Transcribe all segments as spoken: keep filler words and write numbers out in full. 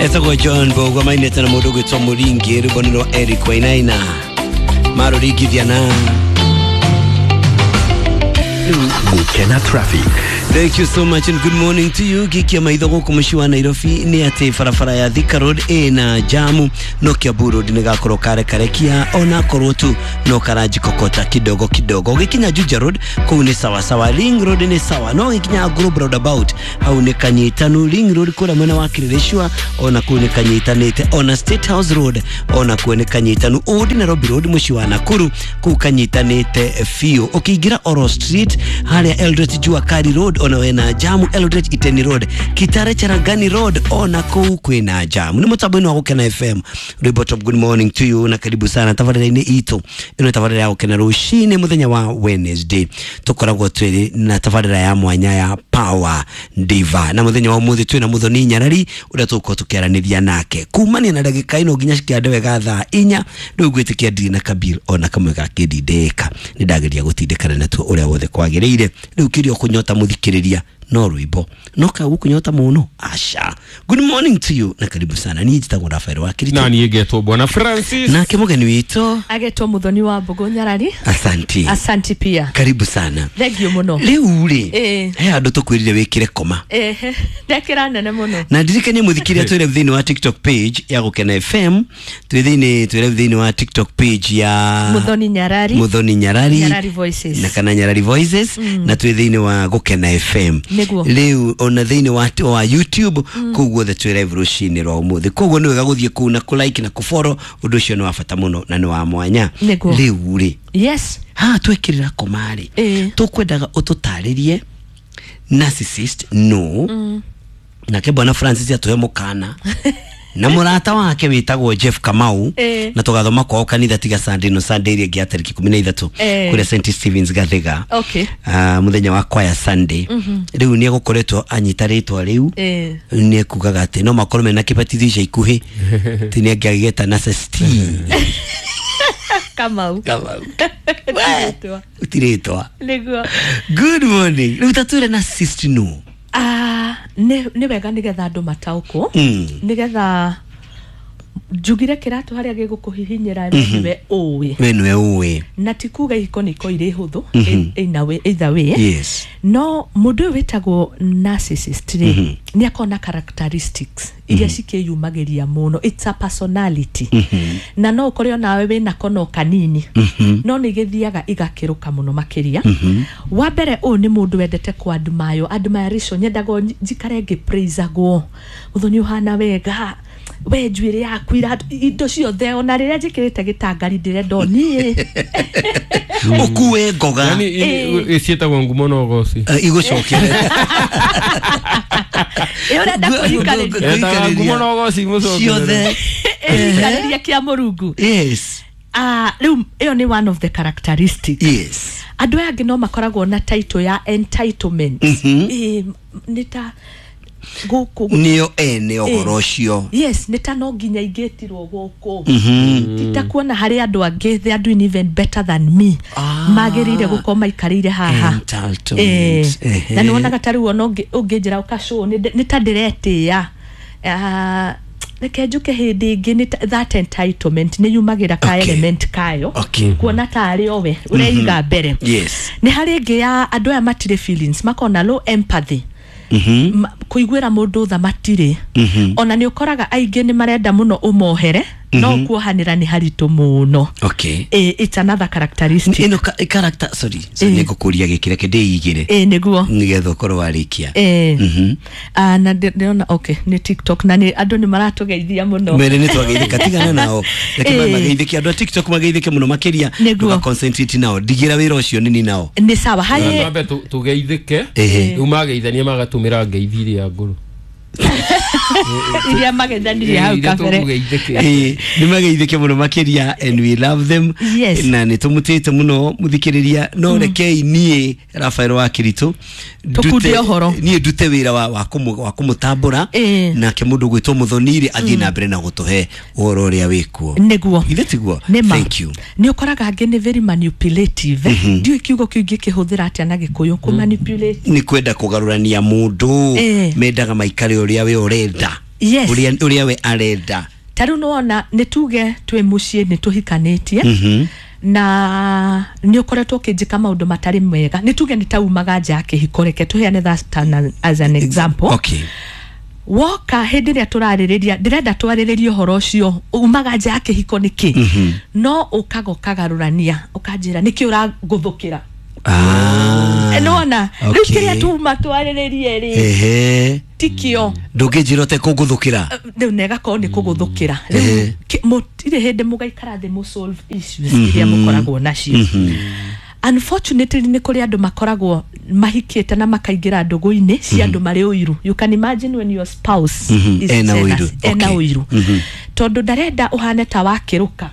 Etagwo John Mbũgua mainĩte na mũndũ ũgwĩtwo Mũringi, rwĩmbo nĩ rwa Eric Wainaina marũringithia na Gukena traffic. Thank you so much and good morning to you. Gikia maitho gũkũ mũciĩ wa Nairobi nĩ atĩ barabara ya Thika Road ĩna jamu, no Kiambu Road nĩ gakorwo karekarekia ona korwo tu no karanjikokota kidogo kidogo. Ũgĩkinya Juja Road kũu nĩ sawa sawa, Ring Road nĩ sawa, no ũgĩkinya Globe Roundabout hau nĩ kanyitanu. Ring Road kũrĩa mwena wa Kileleshwa ona kũu nĩ kanyitanĩte, ona State House Road ona kuo nĩ kanyitanu. Old Nairobi Road mũciĩ wa Nakuru kũu kanyitanĩte biũ. Ũkĩingĩra Oro Street harĩa Eldoret Jua Kali Road ona wena jamu, Eldoret Iten Road, Kitale Charangani Road ona kũu kwĩna jamu. Nĩ mũtambo-inĩ wa Gũkena F M, rwĩmbo top. Good morning to you na karibu sana tabarĩra-inĩ itũ ĩno, tabarĩra ya Gũkena rũcinĩ mũthenya wa Wednesday. Tũkoragwo twĩrĩ na tabarĩra ya mwanya ya Power Diva, na mũthenya wa ũmũthĩ twĩna Mũthoni Nyarari ũrĩa tũgũkorwo tũkĩaranĩria nake kumania na ndagĩka ĩno nginya cikĩande wega thaa inya. Rĩu ngwĩtĩkia ndirĩ na kabil ona kamwe gakĩndindĩka, nĩ ndageria gũtindĩkana natuo ũrĩa wothe kwagĩrĩire. Rĩu kĩrĩa ũkũnyota mũthikĩrĩria no rwĩmbo no ka gũkũnyota mũno aca. Good morning to you na karibu sana. Niĩ njĩtagwo Rafael wa Kirito. Na niĩ ngetwo Bwana Francis. Nake mũgeni witũ agetwo Muthoni wa Mbũgũ Nyarari. Asanti. Asanti pia. Karibu sana. Thank you mũno. Rĩu rĩ, Ĩĩ. he handũ tũkwĩrire wĩkĩre koma. Ehe, ndekĩra nene mũno. Na ndirikanie mũthikĩria twĩre thĩinĩ wa TikTok page ya Gũkena F M, twĩ thĩinĩ twĩre thĩinĩ wa TikTok page ya Muthoni Nyarari. Muthoni Nyarari. Nyarari Voices. Na kana Nyarari Voices mm. Na twĩ thĩinĩ wa Gũkena F M. Nĩguo. Rĩu ona thĩinĩ wa, wa YouTube mm. Kũu guothe twĩ live rũcinĩ rwa ũmũthĩ, koguo nĩ wega gũthiĩ kũu na kũ-like na kũ-follow. Ũndũ ũcio nĩ wa bata mũno na nĩ wa mwanya. Nĩguo. Rĩu rĩ, yes haha twekĩrĩra koma-rĩ, Ĩĩ. tũkwendaga ũtũtarĩrie narcissist no mm. Nake Bwana Francis atũhe mũkana na mũrata wake wĩtagwo Jeff Kamau. Ĩĩ. Na tũgathoma kwao kanitha tiga Sunday no Sunday ĩrĩa ĩngĩ ya tarĩki ikũmi na ithatũ Ĩĩ. kũrĩa Saint Stevens Gathiga, okay uh, mũthenya wa kwaya Sunday. Rĩu nĩ egũkoretwo anyita rĩtwa rĩu. Ĩĩ. Nĩ ekugaga atĩ no makorwo mena kĩbatithio ica ikuhĩ ti nĩ angĩagĩeta narcissist Kamau. Kamau. Rĩtwa. Tirĩtwa. Nĩguo. Good morning. Rĩu tatwĩre narcissist no. Ah, nĩ nĩ wega nĩgetha andũ mataũkwo, Mm. nĩgetha njugire kĩratũ harĩa gĩgũkũhihinyĩra nĩwe ũĩ. We nĩwe ũĩ. Na ti kuga ihiko nĩ ikorwo irĩ hũthũ either way, either way. Yes no mũndũ ũyũ wĩtagwo narcissist rĩ, nĩ akoragwo na characteristics iria cikĩyumagĩria mũno. It's a personality, na no ũkore onawe wĩna kono kanini, no nĩ igĩthiaga igakĩrũka mũno makĩria. Wa mbere, ũyũ nĩ mũndũ wendete kũ-admire, admiration. Nyendaga o njikare ngĩ-praisagwo, Mũthoni ũhana wega, we njuĩrĩ yaku iratũ, indo ciothe, ona rĩrĩa njĩkĩrĩte gĩtangari ndĩrenda o niĩ. Ũkue ngoga. Yani Ĩĩ. ciĩtagwo ngumo na ũgoci. Eh, igũcokere. Ĩ ũrenda kũikarĩria. Etaga ngumo na ũgoci mũcokerere. Ciothe. Ĩikarĩria kĩa mũrungu. Yes Ah, rĩu ĩyo nĩ one of the characteristics. Yes andũ aya angĩ no makoragwo na title ya entitlement. Ĩ, nĩ ta gũkũ nĩo ene ũhoro ũcio. Yes, nĩ ta no nginya ingĩtirwo gũkũ, ti ta kuona harĩ andũ angĩ they are doing even better than me, Ah. magĩrĩire gũkorwo maikarĩire haha. Entitlement. Eh, Ehe. na nĩ wonaga ta rĩu ona ũngĩ- ũngĩnjĩra ũkacũ nĩ ta ndĩretĩĩa. Ah, reke njuke hĩndĩ ĩngĩ nĩ ta- that entitlement nĩ yumagĩra ka Okay. element kayo, Okay. kuona tarĩ o we ũreiga mbere. Yes nĩ harĩ ĩngĩ ya andũ aya matirĩ feelings, makona na low empathy. Ma- kũiguĩra mũndũ tha matirĩ. Ona nĩ ũkoraga aingĩ nĩ marenda mũno ũmohere, no kuohanĩra nĩ haritũ mũno. Okay Eh, it's another characteristic. Ĩno ka- character, sorry, sorry, Eh. nĩ ngũkũria gĩkĩ, reke ndĩigĩre ĩ nĩguo. Nĩgetha ũkorwo warĩkia. Eh. Ah, na ndĩ- ndĩrona okay nĩ TikTok na nĩ andũ nĩ maratũgeithia mũno. Mere nĩ twageithĩka, tigana nao, reke Eh. mageithĩke. Andũ a TikTok mageithĩke mũno makĩria. Nĩguo. Ndũga concentrate nao, ndigĩra wĩra ũcio nini nao. Nĩ sawa harĩ. Twambe tu- tũgeithĩke. Ehe. Rĩu mageithania magatũmĩra ngeithi iria ngũrũ. Iria mageithanirie hau Iria kabere. tũkũgeithĩke. Ĩĩ, nĩ mageithĩke mũno makĩria and we love them. Yes. Na nĩ tũmũtĩte mũno mũthikĩrĩria, no rekei niĩ Rafael wa Kiritũ Tũkunde ndute- ũhoro. niĩ ndute wĩra wa, wa, kũmũ, wa kũmũtambũra. Ĩĩ. Nake mũndũ gwĩtwo Mũthoniri athiĩ na mbere na gũtũhe ũhoro ũrĩa wĩkuo. Nĩguo. Ithe tiguo? Nĩ ma. Thank you. Nĩ ũkoraga angĩ nĩ very manipulative. Ndiũĩ kiugo kĩu ingĩkĩhũthĩra atĩa na Gĩkũyũ, kũ manipulate. Nĩ kwenda kũgarũrania mũndũ. Ĩĩ. Mendaga maikare ũrĩa we ũrenda. Yes. Ũrĩa ũrĩa we arenda. Ta rĩu nĩwona, nĩ tuge twĩ mũciĩ, nĩ tũhikanĩtie, na nĩ ũkoretwo ũkĩnjĩka maũndũ matarĩ mega. Nĩ tuge nĩ taumaga nja ya kĩhiko, reke tũheane that an- as an example. Okay. Woka hĩndĩ ĩrĩa tũrarĩrĩria, ndĩrenda twarĩrĩrie ũhoro ũcio umaga nja ya kĩhiko nĩkĩ, no ũkaga ũkagarũrania, ũkanjĩra nĩkĩ ũrangũthũkĩra. Ah. Nĩwona rĩu Okay. kĩrĩa tuma twarĩrĩrie rĩ, Ehe. tikio. Ndũngĩnjĩra ũtekũngũthũkĩra. Rĩu na ĩgakorwo nĩ kũgũthũkĩra. Ehe. Rĩu ki- mũtirĩ hĩndĩ mũgaikara thĩ mũ solve issues iria mũkoragwo nacio. Unfortunately, nĩ kũrĩ andũ makoragwo mahikĩte na makaingĩra ndũgũ-inĩ cia andũ marĩ ũiru. You can imagine when your spouse Mhm. is Ena jealous, ũiru. ena Okay. ũiru, tondũ ndarenda ũhane ta wakĩrũka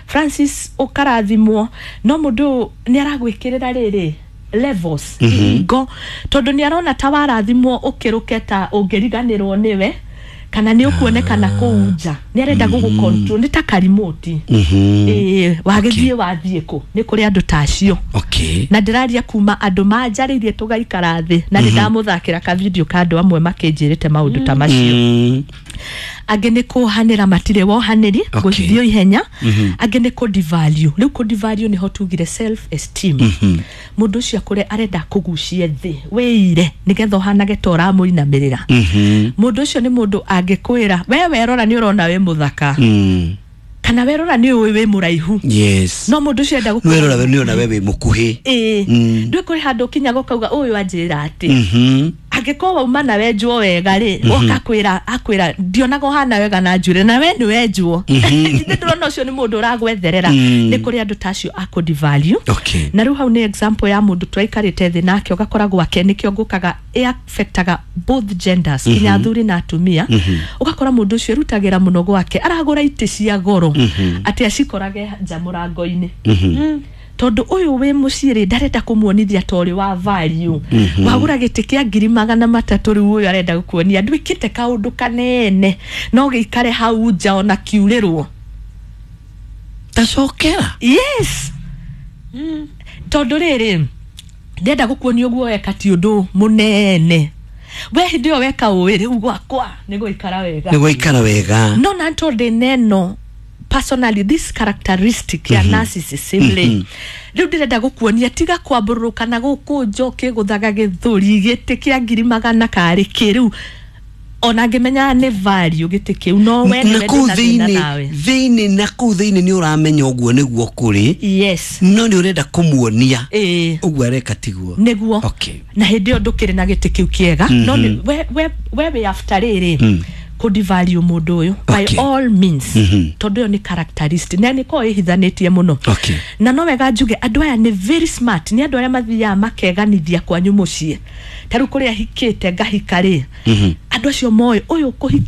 Francis ũkarathimwo, no mũndũ ũyũ nĩ aragwĩkĩrĩra rĩrĩ levels ihingo, tondũ nĩ arona ta warathimwo ũkĩrũke ta ũngĩriganĩrwo nĩwe kana nĩ ũkuonekana kũu nja. Nĩ arenda gũgũ control, nĩ ta karimoti. Ĩĩ, wagĩthiĩ wathiĩ kũ? Nĩ kũrĩ andũ ta acio. Okay. Na ndĩraria kuma andũ manjarĩirie tũgaikara thĩ, na nĩ ndamũthakĩra ka video ka andũ amwe makĩnjĩrĩte maũndũ ta macio. Mm. Angĩ nĩ kũhanĩra, matirĩ wohanĩri, Okay. gũthio ihenya. Angĩ nĩ kũdevalue. Rĩu kũdevalue nĩho tugire self esteem. Mũndũ ũcio akũre arenda kũgucie thĩ wĩire nĩgetha ũhanage ta ũramũinamĩrĩra. Mũndũ ũcio nĩ mũndũ angĩkwĩra we werora nĩ ũrona wĩ mũthaka, Mm. kana werora nĩ ũĩ wĩ mũraihu. Yes. No mũndũ ũcio enda gũkũ Werora we nĩ ona we wĩ mũkuhĩ. Ĩĩ, Mm. ndwĩ kũrĩ handũ ũkinyaga ũkauga ũyũ anjĩra atĩ Mhm. angĩkorwo wauma na wenjwo wega rĩ, woka kwĩra akwĩra ndionaga ũhana wega na njuĩrĩ, na we nĩ wenjwo. Nĩ ndĩrona ũcio nĩ mũndũ ũragwetherera. Nĩ kũrĩ andũ ta acio a kũdevalue. Okay. Na rĩu hau nĩ example ya mũndũ twaikarĩte thĩ nake, ũgakora gwake nĩkĩo ngũkaga ĩ-affectaga both genders, nginya athuri na atumia. Ũgakora mũndũ ũcio erutagĩra mũno gwake, aragũra itĩ cia goro atĩ acikorage nja mũrango-inĩ, tondũ ũyũ wĩ mũciĩ rĩ, ndarenda kũmuonithia ta ũrĩ wa value. Wagũra gĩtĩ kĩa ngiri magana matatũ, rĩu ũyũ arenda gũkuonia ndwĩkĩte kaũndũ kanene, no gĩikare hau nja ona kiurĩrwo. Tacokera. Yes, tondũ rĩrĩ, ndenda gũkuonia ũguo weka ti ũndũ mũnene. We hĩndĩ ĩyo weka ũĩ rĩu gwakwa nĩ gũikara wega. Nĩ gwaikara wega. No na tondũ neno personally this characteristic ya narcissism rĩ, rĩu ndĩrenda gũkuonia tiga kwambũrũrũka na gũkũ nja ũkĩgũthaga gĩthũri gĩtĩ kĩa ngiri magana karĩ kĩ. Rĩu ona ngĩmenyaga nĩ value gĩtĩ kĩu, no we Na nĩwe kũu ndĩna thĩna thĩinĩ nawe. Thĩinĩ, na kũu thĩinĩ nĩ ũramenya ũguo nĩguo kũrĩ, Yes. no nĩ ũrenda kũmuonia Ĩĩ. ũguo areka tiguo. Nĩguo. Okay. Na hĩndĩ ĩyo ndũkĩrĩ na gĩtĩ kĩu kĩega, no nĩ- we we we wĩ after rĩrĩ kũdevalue mũndũ ũyũ by Okay. all means, tondũ ĩyo nĩ characteristic na nĩ korwo ĩhithanĩtie mũno. Okay. Na no wega njuge andũ aya nĩ very smart, nĩ andũ arĩa mathiaga makeganithia kwanyu mũciĩ. Ta rĩu kũrĩa hikĩte ngahika rĩ, andũ acio moĩ ũyũ kũhikia.